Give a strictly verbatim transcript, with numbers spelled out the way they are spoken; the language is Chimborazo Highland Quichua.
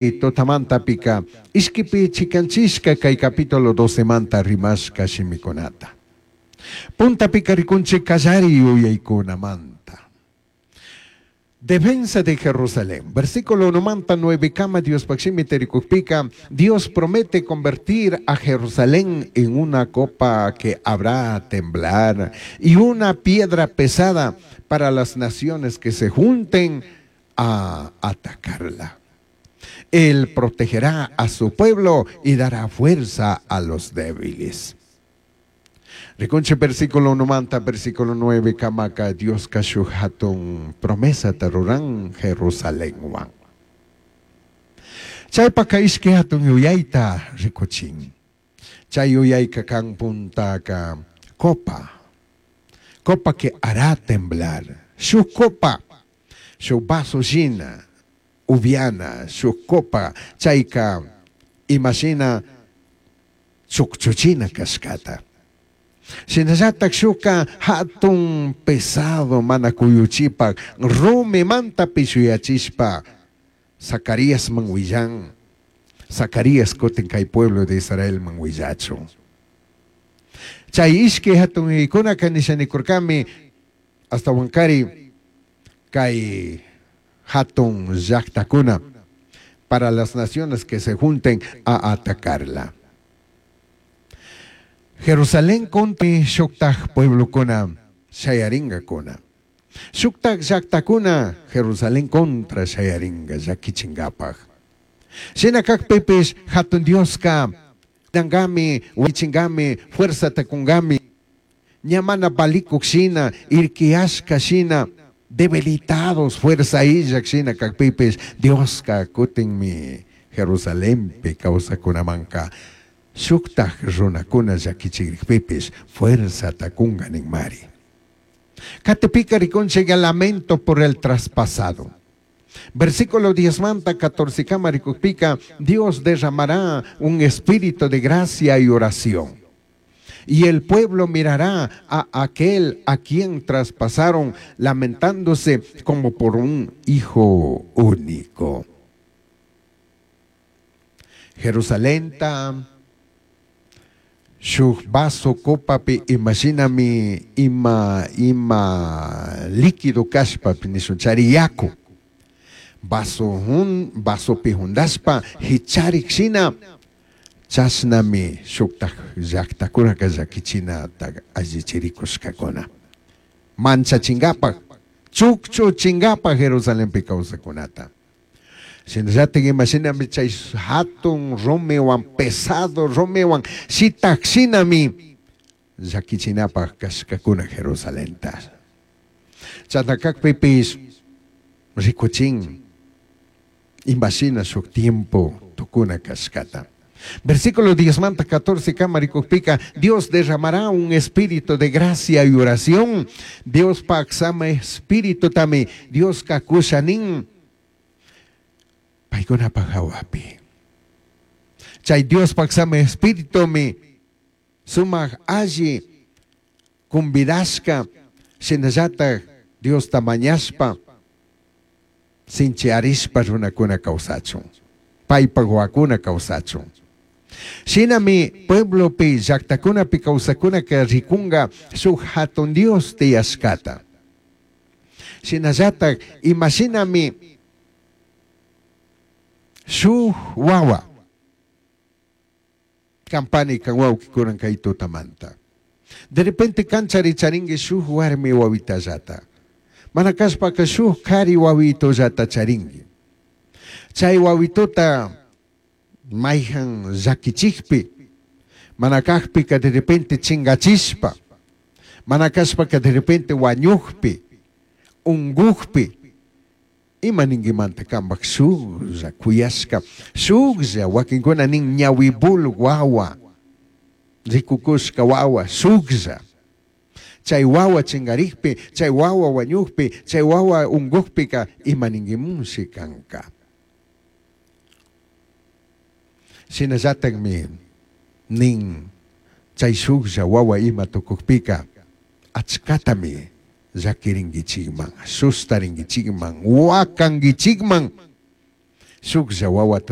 Tutamantapika ishkipi chikanchishka kay capítulo doce manta rimashka shimikunata. Puntapika rikunchik kallari yuyaykunamanta. Defensa de Jerusalén. Versículo uno manta nueve kama Dios shimi rikukpika, Dios promete convertir a Jerusalén en una copa que habrá temblar y una piedra pesada para las naciones que se junten a atacarla. Él protegerá a su pueblo y dará fuerza a los débiles. Rikunchik versículo uno manta, versículo nueve, kamaka Dioska shuj hatun promesa ruran Jerusalén wan. Chaypaka ishki hatun yuyayta rikuchin. Chay yuyayka kan puntaka copa. Copa que hará temblar. Shuj copa, shuj vaso shina, upiana, shuj copa, chayka imashina chukchuchina kashkata. Shinallatak shuka hatun pesado mana kuyuchipak rumi manta pishuyachishpa Zacarías man willan. Zacarías kutin kay pueblo de Israel man willachun. Chay ishki hatun yuyaykunaka nishanikurkami hasta wankari kay hatun llaktakuna para las naciones que se junten a atacarla. Jerusalén contra shuktaj pueblokuna shayaringakuna. Shuktaj llaktakuna Jerusalén contra shayaringa llakichingapaj. Shina kakpipish hatun Dioska dangami, wichingami, fuerza takungami. Ñamana balikuk shina, irkiashka shina, debilitados, fuerza illak shina kakpipish Dioska kutinmi Jerusalenpi kawsakunamanka. Shuktaj runakuna llakichirikpipish fuerza takunga ninmari. Katipika rikunchik lamento por el traspasado. Versículo diez manta catorce kama rikukpika, Dios derramará un espíritu de gracia y oración. Y el pueblo mirará a aquel a quien traspasaron, lamentándose como por un hijo único. Jerusalén ta shuj vaso copapi, imaginami ima, ima líquido kashpapi nishun chari yaku. Vaso hun, vaso pihundaspa, hicharik shina, chashnami shuktaj llaktakunaka llakichina ta allichirikushkakuna. Manchachingapak, chukchuchingapak Jerusalenpi kawsakunata. Shinallatik imashinami chay hatun rumiwan, pesado rumiwan, shitak shinami llakichinapak kashkakuna Jerusalenta. Chatakakpipis rikuchin imashina shuk tiempo tukuna kashkata. Versículo diez manta catorce kama rikukpika, Dios derramará un espíritu de gracia y oración. Dios paksama espíritu tami, Dios kakushanin paykuna pajawapi. Chay Dios paksama espíritu mi sumaq alli kumbidashka shinallatak Dios tamañashpa sinchiarishpa runakuna kawsachun, paypak wawakuna kawsachun. Shinami pueblopi llaktakunapi kawsakunaka rikunga shuk hatun Dios tiyashkata. Shinallatak imashinami shuk wawa kampani kan wawkikunan kay tutamanta. De repente kanchari charingi shuk warmi wawitallata. Mana kashpaka shuk kari wawitollata charingi. Chay wawitota mayhan llakichikpi, mana kakpika de repente chingachishpa, mana kashpaka de repente wañukpi, ungukpi, ima ninguimanta kambak shuklla kuyashka, shuklla wakinkuna nin ñawibul wawa, rikukushka wawa, shuklla. Chay wawa chingarikpi, chay wawa wañukpi, chay wawa ungukpika ima ninguimunshi kanka. Shinallatakmi nin chay shuklla wawa ima tukukpika achkatami llakirinkichikman, sustarinkichikman, wakankichikman. Shujlla huahuata